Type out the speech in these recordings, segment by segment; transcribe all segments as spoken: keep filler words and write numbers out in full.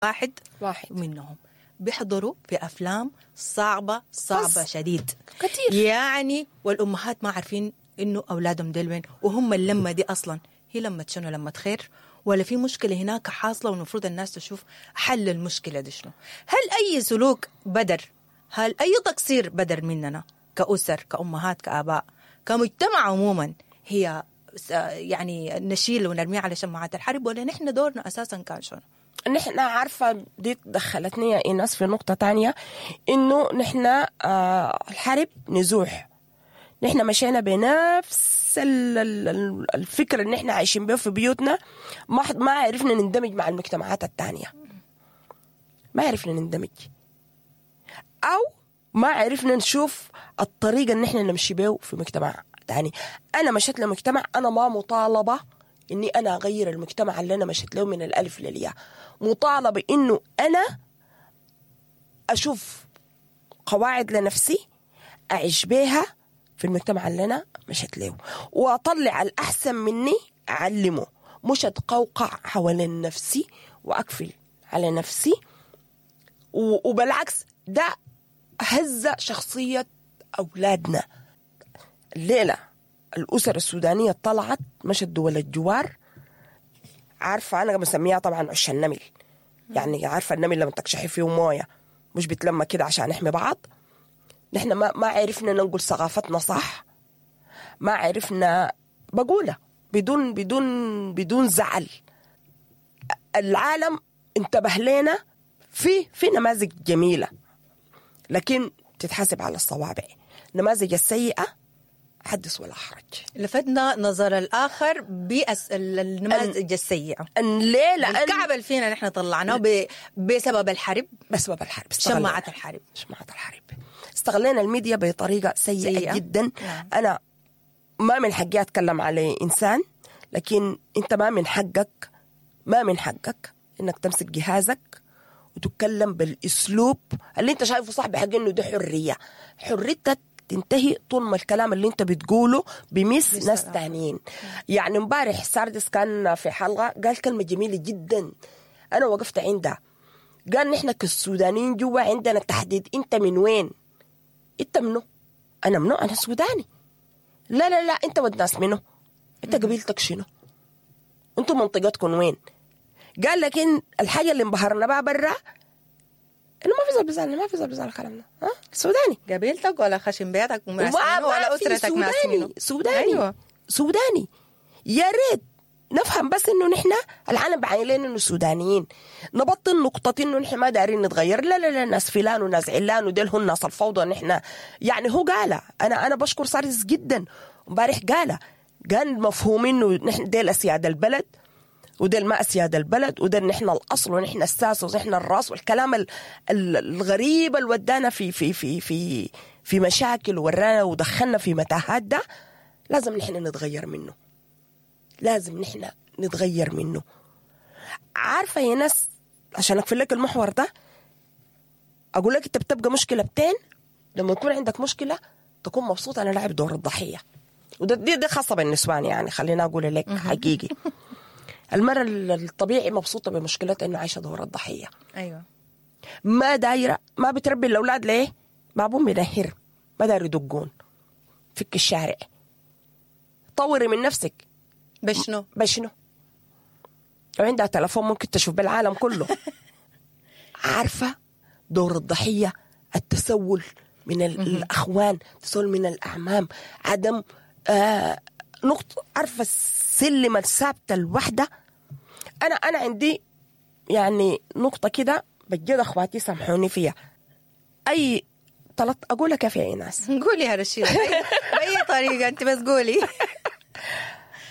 واحد واحد منهم بيحضروا في افلام صعبة صعبة بس. شديد كتير. يعني، والامهات ما عارفين انه اولادهم ديل وين، وهم اللمة دي اصلا هي لمه شنو؟ لمه خير ولا في مشكلة هناك حاصله والمفروض الناس تشوف حل المشكلة دي شنو؟ هل اي سلوك بدر، هل اي تقصير بدر مننا كاسر، كامهات، كاباء، كمجتمع عموما، هي س- يعني نشيل ونرميه على شماعات الحرب، ولا نحن دورنا اساسا كان شنو؟ نحن عارفة دي دخلتني يا إيناس في نقطة تانية، إنه نحن آه الحرب نزوح، نحن مشينا بنفس ال- ال- ال- الفكر اللي نحن عايشين به في بيوتنا، ما حد- ما عرفنا نندمج مع المجتمعات التانية، ما عرفنا نندمج أو ما عرفنا نشوف الطريقة اللي نحن نمشي به في مجتمع تاني. أنا مشيت لمجتمع، أنا ما مطالبة إني أنا أغير المجتمع اللي أنا مشيت له من الألف للياء، مطالبة إنه أنا أشوف قواعد لنفسي أعيش بيها في المجتمع اللي أنا مشيت له، وأطلع الأحسن مني أعلمه، مش أتقوقع حوالين نفسي وأقفل على نفسي. و- وبالعكس ده هز شخصية أولادنا. الليلة الأسر السودانية طلعت مشت دول الجوار، عارفة أنا بسميها طبعا عش النمل، يعني عارفة النمل لما تكشحي فيه موية مش بتلمى كده عشان نحمي بعض. نحن ما ما عرفنا ننقل ثقافتنا صح، ما عرفنا بقولها بدون بدون بدون زعل. العالم انتبه لنا في في نماذج جميلة، لكن تتحاسب على الصوابع. النماذج السيئة حدث ولا حرج. لفتنا نظر الاخر بالنماذج السيئة. أن ليه؟ لأن الكعب اللي فينا نحن طلعناه ب... بسبب الحرب، بسبب الحرب استغلينا. شماعة الحرب. شماعة الحرب، استغلينا الميديا بطريقة سيئة, سيئة. سيئة. جدا. نعم. أنا ما من حقي أتكلم على إنسان، لكن أنت ما من حقك، ما من حقك إنك تمسك جهازك وتتكلم بالأسلوب اللي أنت شايفه صح، بحق إنه ده حرية. حريتك تنتهي طول ما الكلام اللي أنت بتقوله بمس ناس تانيين. يعني امبارح ساردس كان في حلقة قال كلمة جميلة جدا، أنا وقفت عندها. قال نحن كالسودانيين جوا عندنا تحديد، أنت من وين؟ أنت منو؟ أنا منو؟ أنا سوداني. لا لا لا، أنت ود ناس منو؟ أنت قبيلتك شنو؟ أنتوا منطقتكم وين؟ قال لكن الحاجة اللي انبهرنا بها برا إنه ما في زول بيسألنا، ما في زول بيسأل الكلام ده، ها؟ سوداني قبيلتك ولا خشم بيتك وناس وما منو ولا ما في اسرتك ناس سوداني منو. سوداني. أيوة. سوداني. يا ريت نفهم بس انه نحن العالم بعين لنا انه سودانيين، نبطل نقطة انه نحن ما دارين نتغير. لا لا لا، ناس فلان وناس علان وديل هم ناس الفوضى. نحن يعني هو قالها، انا انا بشكر سارس جدا امبارح قالها، قال مفهوم انه نحن ديل اسياد البلد وديل ما اسياد البلد، وديل نحن الاصل ونحن الساس ونحن الراس، والكلام ال- ال- الغريب اللي ودانا في في في في في مشاكل ورانا ودخلنا في متاهات، ده لازم نحن نتغير منه، لازم نحن نتغير منه. عارفه يا ناس، عشان اقفل لك المحور ده اقول لك انت بتبقى مشكلة بتين لما يكون عندك مشكلة تكون مبسوط انا لاعب دور الضحية، وده دي, دي خاصة بالنسوان، يعني خلينا اقول لك حقيقي. المرة الطبيعي مبسوطة بمشكلتها انه عايشه دور الضحية، ايوه ما دايرة، ما بتربي الاولاد ليه؟ ما ابوهم بينهر، ما داير يدقون فك الشارع. طوري من نفسك بشنو؟ بشنو؟ لو عندها تلفون ممكن تشوف بالعالم كله. عارفة دور الضحية، التسول من ال- الأخوان، التسول من الأعمام، عدم آه نقطة، عارفة السلم الثابتة الوحدة. أنا أنا عندي يعني نقطة كده بجد أخواتي سامحوني فيها. أي طلعت أقولها كيف يا إيناس؟ قولي يا رشيدة بأي, بأي طريقة أنت بس قولي.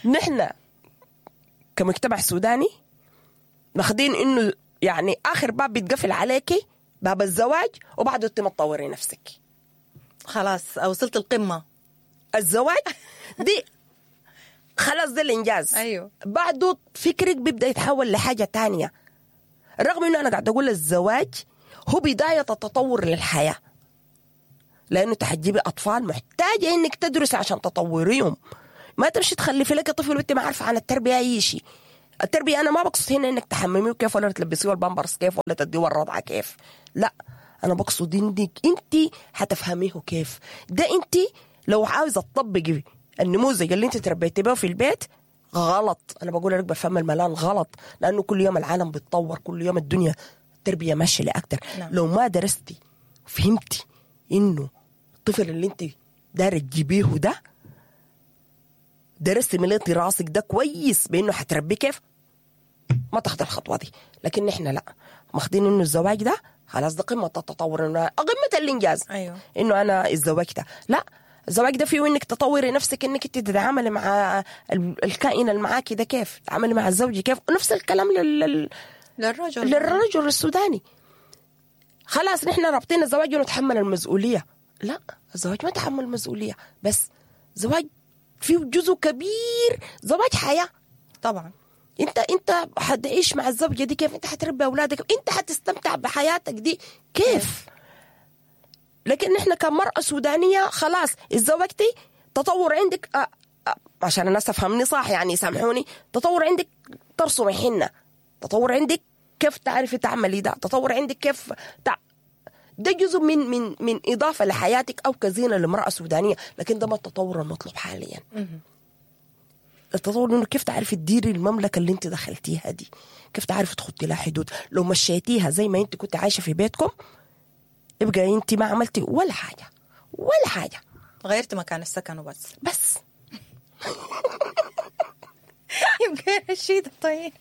نحن كمجتمع سوداني ماخدين انه يعني اخر باب بيتقفل عليكي باب الزواج، وبعده انت ما تطوري نفسك. خلاص وصلت القمة. الزواج دي خلاص ده الانجاز. أيوه. بعده فكرك بيبدا يتحول لحاجة تانية، رغم انه انا قاعد اقول الزواج هو بداية التطور للحياة، لانه تحجبي اطفال محتاجه انك تدرسي عشان تطوريهم، ما تمشي تخلفي لك طفل وانت ما عارفه عن التربية اي شيء. التربية انا ما بقصد هنا انك تحمميه كيف ولا تلبسيه البامبرز كيف ولا تديه الرضعه كيف، لا، انا بقصد انك انت حتفهميه كيف. ده انت لو عاوزه تطبقي النموذج اللي انت تربيتي بيه في البيت غلط. انا بقول لك بفهم الملان غلط، لانه كل يوم العالم بيتطور، كل يوم الدنيا التربية ماشية لاكتر. نعم. لو ما درستي وفهمتي انه الطفل اللي انت دايرة تجيبيه ده درستي مليتي راسك ده كويس بانه حتربيه كيف، ما تاخد الخطوة دي. لكن احنا لا، ماخدين انه الزواج ده خلاص ده قمة التطور، انه قمة الانجاز. أيوه. انه انا اتزوجت. لا، الزواج ده فيه انك تطوري نفسك، انك انت تتعاملي مع ال- الكائن اللي معاكي ده كيف، تتعاملي مع الزوج كيف. نفس الكلام لل... لل... للرجل للرجل السوداني. خلاص نحن رابطين الزواج ونتحمل المسؤولية. لا، الزواج ما تحمل مسؤولية بس، زواج فيه جزء كبير زواج حياة. طبعا. انت انت حتعيش مع الزوجة دي كيف، انت حتربي اولادك، انت حتستمتع بحياتك دي كيف. لكن احنا كمرأة سودانية خلاص اتزوجتي، تطور عندك اه اه عشان الناس تفهمني صح يعني سامحوني، تطور عندك ترسمي حنة، تطور عندك كيف تعرفي تعملي ده، تطور عندك كيف تع... ده جزء من من من اضافه لحياتك او كزينه لامراة سودانيه، لكن ده ما التطور المطلوب حاليا. التطور انه كيف تعرفي تديري المملكة اللي انت دخلتيها دي، كيف تعرفي تحطي لها حدود. لو مشيتيها زي ما انت كنت عايشه في بيتكم يبقى انت ما عملتي ولا حاجة ولا حاجة، غيرت مكان السكن وبس. بس يبقى رشيدة طيب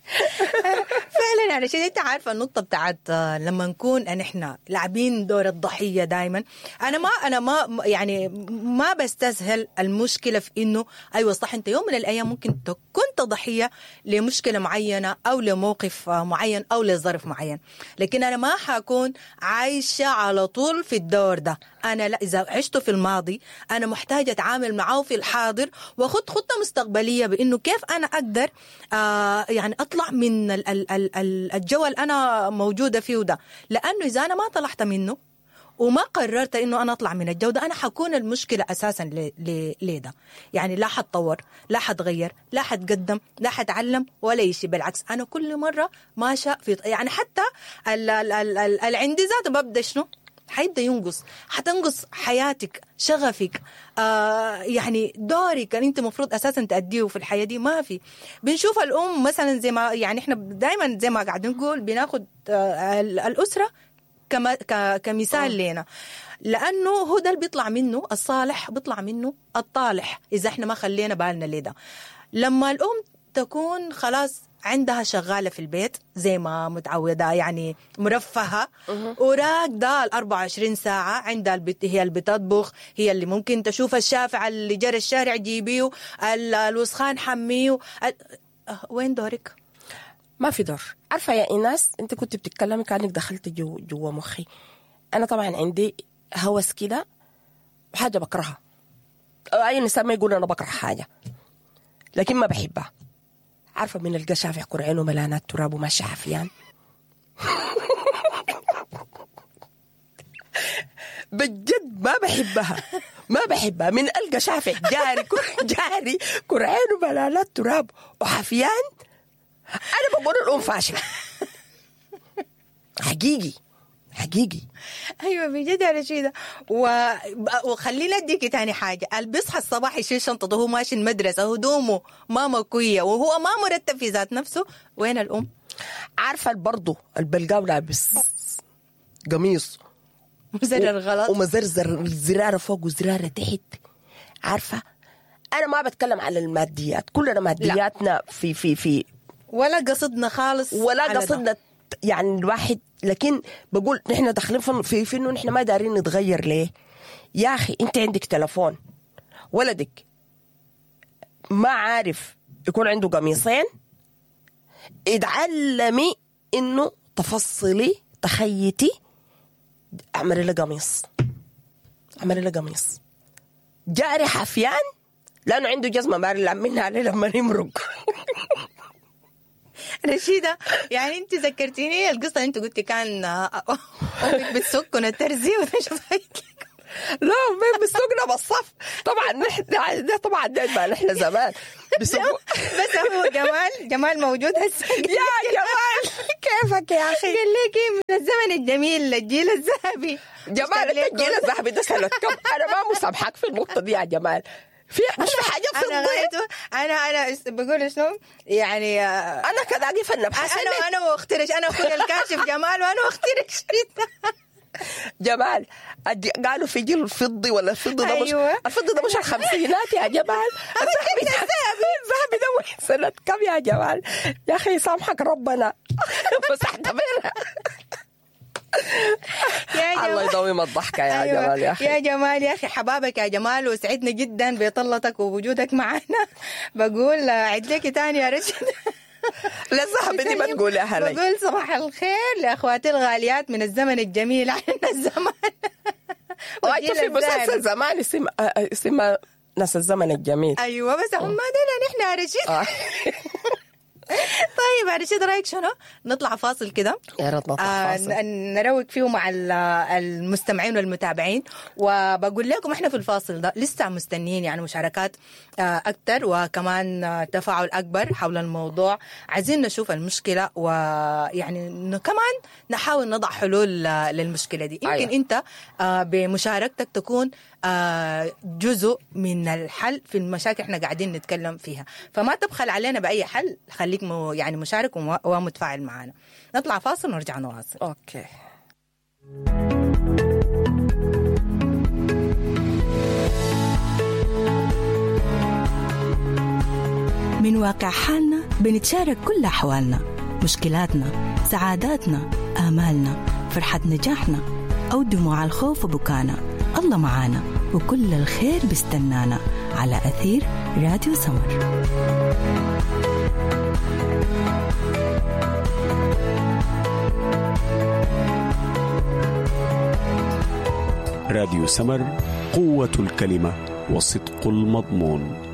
فعلا يعني رشيدة، انت عارفه النقطة بتاعت آه، لما نكون ان احنا لاعبين دور الضحية دائما. انا ما انا ما يعني ما بستسهل المشكلة في انه ايوه صح، انت يوم من الايام ممكن كنت ضحية لمشكلة معينة او لموقف آه، معين او لظرف معين، لكن انا ما حكون عايشه على طول في الدور ده. انا لا، اذا عشته في الماضي انا محتاجه اتعامل معاه في الحاضر واخد خطه مستقبلية بانه كيف انا اقدر آه يعني اطلع من ال ال ال ال الجو اللي انا موجودة فيه ده، لانه اذا انا ما طلعت منه وما قررت انه انا اطلع من الجو ده، انا حكون المشكلة اساسا ل- ل- لده. يعني لا حتطور، لا حتغير، لا حتقدم، لا حتعلم ولا شيء. بالعكس انا كل مرة ماشية في يعني حتى ال ال ال ال العندي ذاته ببدا شنو حيبدا ينقص، حتنقص حياتك، شغفك، آه يعني دورك اللي انت المفروض اساسا تأدية في الحياة دي ما في. بنشوف الام مثلا زي ما يعني احنا دائما زي ما قاعدين نقول بناخد آه ال- الاسرة كما ك- كمثال لنا، لانه هو ده اللي بيطلع منه الصالح، بيطلع منه الطالح اذا احنا ما خلينا بالنا لده. لما الام تكون خلاص عندها شغالة في البيت زي ما متعوده يعني مرفهه وراكده ال أربعة وعشرين ساعة، عندها البت هي اللي بتطبخ، هي اللي ممكن تشوف الشافع اللي جرى الشارع جيبيه، ال- الوسخان حمية، ال- أه، وين دورك؟ ما في دور. عارفه يا ايناس، انت كنت بتتكلمي كانك دخلت جو جوا مخي. انا طبعا عندي هوس كده وحاجه بكرهها، اي انسان ما يقول انا بكره حاجة لكن ما بحبها. عارفه من القى شافع كرعينه ملانات تراب وماشي حفيان بجد ما بحبها، ما بحبها. من القى شافع جاري كر- جاري كرعينه ملانات تراب وحفيان، انا بقول الام فاشلة حقيقي حقيقي. ايوه بجد يا رشيده. و... وخلينا اديكي تاني حاجة، اللي بيصحى الصباح يشيل شنطته وهو ماشي المدرسة، هدومه ما مكويه وهو ما مرتب في ذات نفسه، وين الام؟ عارفه برضه البلقاو لابس قميص مزرر غلط ومزرزر الزراره فوق وزراره تحت. عارفه انا ما بتكلم على الماديات، كلنا مادياتنا في في في ولا قصدنا خالص ولا على ده. قصدنا يعني الواحد، لكن بقول نحن داخلين في في, في انه نحن ما دارين نتغير. ليه؟ يا اخي انت عندك تلفون، ولدك ما عارف يكون عنده قميصين، اتعلمي انه تفصلي تخيتي، اعملي له قميص، اعملي له قميص جاري حفيان لانه عنده جزمه ما منها عليه لما يمرق. رشيدة يعني انت ذكرتيني القصة، انت قلتي كان امك بتسكن الترزي وتشوف. لا مين بيسوقنا بالصف. طبعا نحن ده طبعا ده ما نحن زمان بيسوقوا. بس هو جمال، جمال موجود هسه. يا جمال كيفك يا اخي؟ قال لك من الزمن الجميل، الجيل الذهبي. جمال انت الجيل الذهبي ده سنة كم؟ انا ما مسامحك في النقطة دي يا جمال. في مش في حاجة في انا غايته انا انا بقول شنو يعني، انا كده اقف النبحث. انا انا واخترش، انا اخويا الكاشف جمال وانا واخترش. جمال قالوا في جيل الفضي ولا الفضي ده مش أيوة. الفضي ده مش الخمسينات يا جمال. الذهبي ده الذهبي ده سنة كم يا جمال؟ يا أخي سامحك ربنا. مسحت بينا. يا جمال الله يدوم الضحكة يا أيوة. جمال يا أخي. يا جمال يا أخي حبابك يا جمال، وسعدنا جدا بطلتك ووجودك معنا. بقول عد لك تاني يا رشيد. لا الذهب دي ما تقولها لي. بقول صباح الخير لأخواتي الغاليات من الزمن الجميل عنا الزمان. وأنت في مسلسل زمان اسم اسمه ناس الزمن الجميل. أيوة بس هم دول نحن يا رشيد. طيب يا رشيد رأيك شنو؟ نطلع فاصل كده؟ يا ريت نطلع فاصل. آه نروق فيه مع المستمعين والمتابعين، وبقول لكم احنا في الفاصل ده لسه مستنيين يعني مشاركات آه أكثر وكمان تفاعل أكبر حول الموضوع. عايزين نشوف المشكلة ويعني كمان نحاول نضع حلول للمشكلة دي. يمكن أيوة. أنت آه بمشاركتك تكون آه جزء من الحل في المشاكل احنا قاعدين نتكلم فيها، فما تبخل علينا بأي حل، خليك مو يعني مشارك ومتفاعل معنا. نطلع فاصل ونرجع نواصل. okay. من واقع حالنا بنتشارك كل أحوالنا، مشكلاتنا، سعاداتنا، آمالنا، فرحة نجاحنا أو دموع الخوف وبكانا. الله معانا وكل الخير بيستنانا على أثير راديو سمر. راديو سمر، قوة الكلمة وصدق المضمون.